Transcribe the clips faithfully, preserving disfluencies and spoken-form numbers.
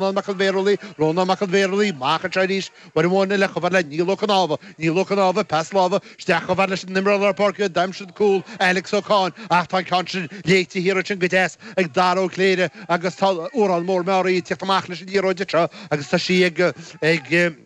Mac an Bhéarlaí, Rónán Mac an Bhéarlaí, amach anseo arís, uair amháin eile chomh fada le Niall Ó Cnámha, Niall Ó Cnámha, pas láimhe, isteach chomh fada leis an imreoir lár páirce, d'aimsigh an cúl, Alex Ó Cadhain, ach tá an ceann sin léite thiar ansin go deas ag Dara Ó Cléire agus tá Órán Mór Meáraí ag tíocht amach leis an liathróid anseo agus tá sí ag ag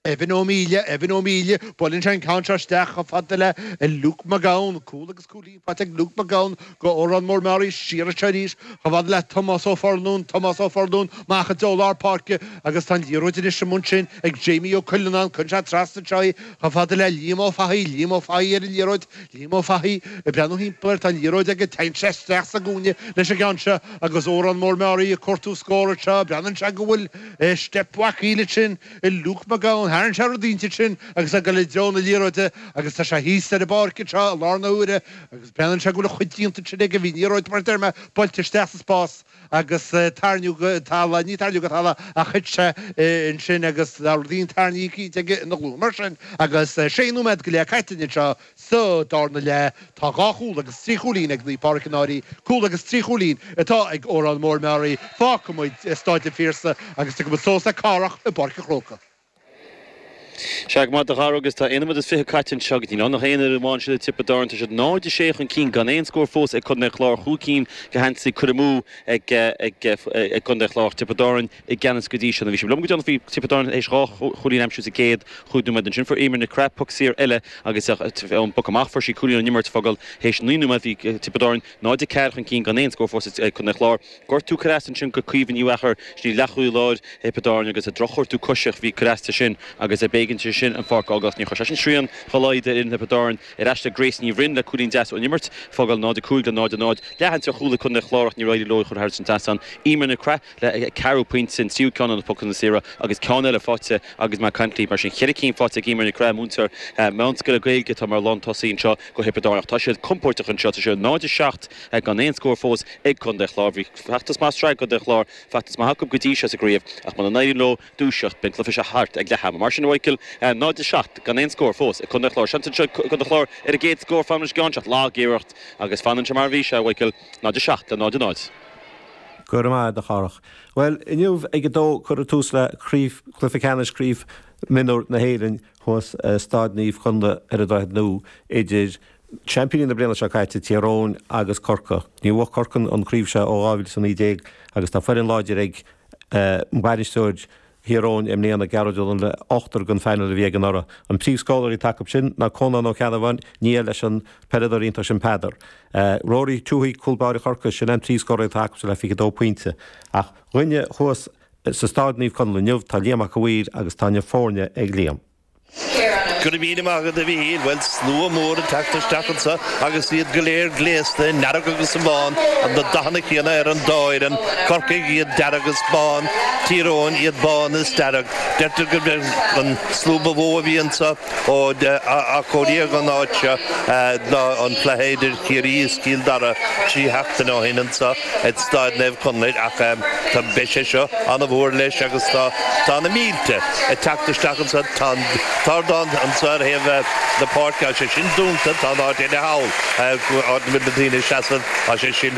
Evan Ó Míle, Evan Ó Míle, buaileann sé an ceann seo isteach chomh fada le Luke McGowan, cúl agus cúilín faighte ag Luke McGowan go Órán Mór Meáraí, siar anseo arís chomh fada le Tomás Ó Forlún, Tomás Ó Forlún, amach i dtreo lár páirce agus tá an liathróid anois amuigh ansin ag Jamie Ó Cuileanáin, cuireann sé trasna anseo í chomh fada le Liam Ó Fathaigh, Liam Ó Fathaigh ar an liathróid, Liam Ó Fathaigh ag breathnú thimpeall air, tá an liathróid aige, téann sé isteach sa gcúinne leis an gceann seo agus Órán Mór Meáraí ag cuartú scór anseo, breathnaíonn sé go bhfuil steip bhacaíl ansin i Luke McGowan, tharraing sé rud ínteacht sin agus é ag dul i dtreo na liathróide agus tá sé thíos ar an bpáirc anseo i lár na huaire agus breathnaíonn sé go bhfuil a chuid déanta ansin aige, bhí an liathróid mar a deir mé buailte isteach sa spás agus tarraingíodh go talamh, ní tarraingíodh go talamh ach thit sé ansin agus tá rud éigin tarraingthe cinnte aige ina ghlúin mar sin agus sé nóiméad go leith caite anseo sa darna leath. Tá dhá chúl agus trí chúilín ag Naomh Pádraig an Fhairche, cúl agus trí chúilín atá ag Órán Mór Meáraí. Fágfaidh muid Stáid an Phiarsaigh agus tiocfaidh muid suas le Cárthach i bPáirc an Chrócaigh. Sea, go maith a Dhara agus tá aon nóiméad is fiche caite anseo go dtí an aon uair amháin siad ag Tiobraid Árann. Tá siad náid a sé chun cinn gan aon scór fós ag Contae an Chláir, chúig cinn de gheansaí curtha amú ag ag Contae an Chláir. Tiobraid Árann i gceannas go dtí seo. Bhí sé liom go deo bhí Tiobraid Árann théis dhá chúilín a aimsiú sa gcéad chúig nóiméad ansin. Fuair Eimear Nic Craith poc saor eile agus ón bpoc amach fuair sí cúilín ón imirt fágáil théis naoi nóiméad bhí Tiobraid Árann náid a ceathair chun cinn gan aon scór fós ag Contae an Chláir. Gortú curtha ansin go Caoimhe Ní Mheachair sin í leathchúlaí láir Thiobraid Árann agus drochghortú coise a bhí curtha sin agus b'éigean di sin an pháirc a fhágáil. Níor chuir sé sin srian dá laghad ar fhoireann Thiobraid Árann ar ais le Grace Ní Bhroin le cúilín deas ón imirt fágáil náid a cúig le náid a náid. Leathaimsir chúl ag Contae an Chláir ach níor éirigh leo chur thar an trasnán. Eimear Nic Craith le ceathrú pointe an tríú ceann an pocanna saora agus ceann eile faighte agus Mac Cantly mar sin cheithre cinn faighte ag Eimear Nic Craith múinteoir meánscoile Gaeilge atá mar lántosaí anseo go Thiobraid Árann. Tá siad compordach anseo tá siad náid a seacht gan aon scór fós ag Contae an Chláir. Bhí feachtas maith sraith Contae an Chláir feachtas maith acu go dtí seo sa gcraobh ach muna n-éiríonn leo dúiseacht beidh an cluiche seo thart ag leath ama. Mar sin Michael náid a seacht gan aon scór fós ag Contae an Chláir. Seans anseo Contae an Chláir ar a gcéad scór fan leis gan lagiarracht agus fanann sé mar bhí sé Michael náid a seacht le náid a náid. Go raibh maith agat a Chárthach. Well inniu ag a dó cuireadh tús le craobh cluiche ceannais craobh mionúr na hÉireann thuas Staid Naomh Conaill ar an Droichead Nua idir seaimpíní na bliana seo caite Tír Eoghain agus Corcaigh. Níor bhuaigh Corcaigh an chraobh seo ó dhá mhíle is a naoi déag agus tá foireann láidir ag bainisteoir Thír Eoghain i mbliana Gearóid Ó le ochtar den phainéal a bhí ag anuraidh. An príomhscórálaí atá acu sin ná Conán Ó Ceannabháin nia leis an peileadóir iontach sin Peadar. Rory Tuohy cúl báire Chorcaí sin an príomhscórálaí atá acu le fiche dó pointe. Ach dhuine thuas sa Staid Naomh Conaill inniu tá Liam Mac a' Mhaoir agus tá na foirne ag Liam. Go raibh míle maith agat a Mhíchíl, bhuel slua mór ag teacht isteach anseo agus iad go léir gléasta i ndearg agus i mbán, na dathanna céanna ar an dá fhoireann, Corcaigh iad dearg is bán, Tír Eoghain iad bán is dearg. Deirtear gurb é an slua ba mhó a bhí anseo ó athchóiríodh an áit seo ná an cluiche idir Ciarraí is Cill Dara trí sheachtaine ó shin anseo ag Staid Naomh Conaill ach tá beidh sé seo an-mhór leis agus tá tá na mílte ag teacht isteach anseo tá an t-ardán anseo ar thaobh na páirce tá sé sin dúnta tá an áit eile thall áit a bhfuil na daoine seasamh tá sé sin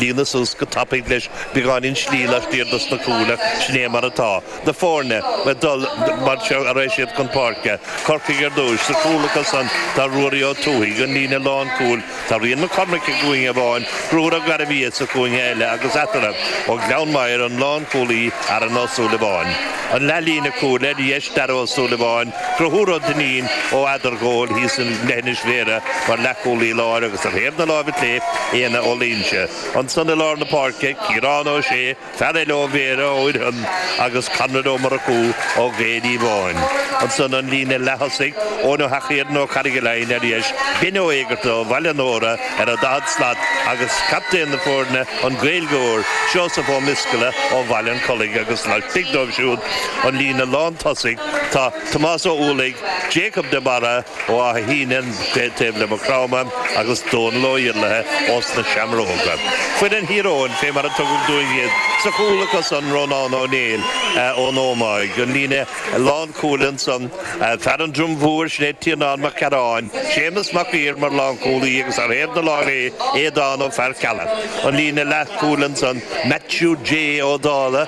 líonadh suas go tapaidh leis beagáinín slí laistiar dos na cúil sin é mar atá. Na foirne ag dul mar seo a raghaidh siad chun páirce. Corcaigh ar dtús, sa chúl acu san tá Ruairí Ó Tuathaigh, an líne lánchúil, Tá Rian Mac Cormaic i gcúinne amháin, Conchúr Ó Gairbhia sa chúinne eile agus eatarthu, ó Ghleann Maghair, an lánchúlaí Aaron Ó Súilleabháin. An leathlíne cúil ar dheis Darragh Ó Súilleabháin, Conchúr Ó Duinnín ó Eadargóil thíos i leithinis Bhéarra mar leathchúlaí láir agus ar thaobh na láimhe clé, Éanna Ó Loingsigh. Ansan i lár na páirce, Ciarán Ó Sé, Fear eile ó Bhéarra ó Fhearchair agus Conrad Ó Murchú ó Ghaeil Dhíomhain. Ansan an líne leath-thosaigh, Eoin Ó hEachaidh ó Charraig Laighin ar dheis, Ben Ó Éigearta ó Bhaile an Óra ar an daichead slat agus captaen na foirne, an Gaeilgeoir, Seosamh Ó Misceala ó Bhaile an Chollaigh agus laistigh dóibh siúd an líne lán-tosaigh tá Tomás Ó Uallaigh, Jacob de Barra, Ó Áth Shíne, taobh le Maigh Chromtha agus Dónal Ó Iarlaithe ós na Seamróga. Foireann Thír Eoghain, fé mar a tugadh dúinn iad, sa chúl acu san Rónán Ó Néill ón Ómaigh, an líne lánchúil ansan, ansan, fear an Drom Mhór sin é Tiarnán Mac Cearáin, Séamus Mac Uidhir mar lánchúlaí agus ar thaobh na láimhe Aodán Ó Fearcheallaigh. An líne leathchúil ansan Matthew J Ó Dála,